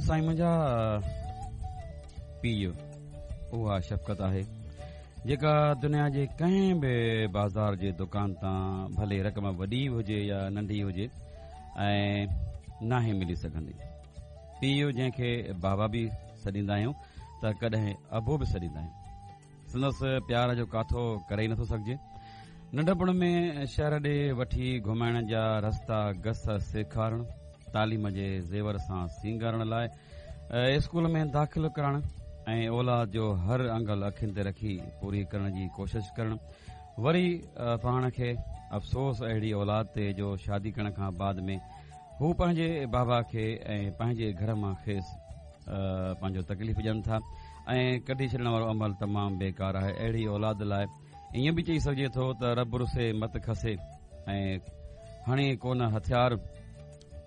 سائين منهنجا پيء اها شفقت آهي جيڪا دنيا جي ڪنهن به بازار جي دڪان تان ڀلي رقم وڏي هجي يا ننڍي هجي ۽ ناهي ملي سگهندي. پيء جنهن کي بابا به سڏيندا آهيون ته ڪڏهن ابو به سڏيندا آهيون. سندس پيار جو ڪاٿو ڪري ئي نٿو سگهجي. ننڍپڻ ۾ شهر ڏي وٺي گهمائڻ جا رستا گس سيکارڻ، تعليم جي زيور سان سينگارڻ لاء اسڪول ۾ داخل ڪرائڻ ۽ اولاد جو هر انگل اکين تي رکي پوري ڪرڻ جي ڪوشش ڪرڻ، وري پاڻ کي افسوس اهڙي اولاد تي جو شادي ڪرڻ کان بعد ۾ هو پنهنجي بابا کي ۽ پنهنجي گهر مان کيس پنهنجو تڪليف ڏين ٿا ۽ ڪڍي ڇڏڻ وارو عمل تمام بيڪار آهي. اهڙي اولاد لاء ائين به چئي سگهجي ٿو ته رب رسي مت کسي ۽ هڻي ڪونه هٿيار،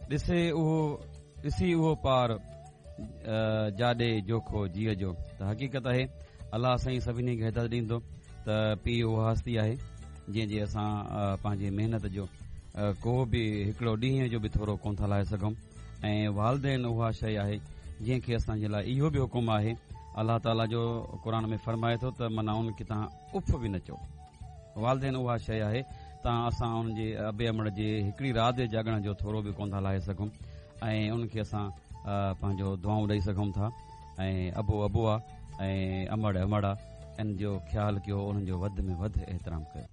ڏسي اهو ڏسي اهو پار جاڏي جوکو جيء جو. ته حقيقت آهي الله سائين سڀني کي هدايت ڏيندو ته پيء اها هستي آهي جنهن جي اسان پنهنجي محنت جو ڪو به هڪڙو ڏينهن جو به ٿورو ڪونه ٿا لاهي سگهون ۽ والدين اها شيء آهي جنهن کي اسان جي لاء اهو به حڪم آهي الله تعاليٰ جو قرآن ۾ فرمائي ٿو ته معنيٰ ان کي توهان اف به نه چئو. والدين اها شيء آهي ته اسان ان جي ابي امڙ جي هڪڙي رات جي جاڳڻ جو ٿورو به ڪونه ٿا لاهي سگهون ۽ ان کي اسان پنهنجو دعائون ڏئي سگهون ٿا ۽ ابو ابو آ ۽ امڙ امڙ آ ان جو خيال ڪيو انهن جو وڌ ۾ وڌ احترام ڪيو.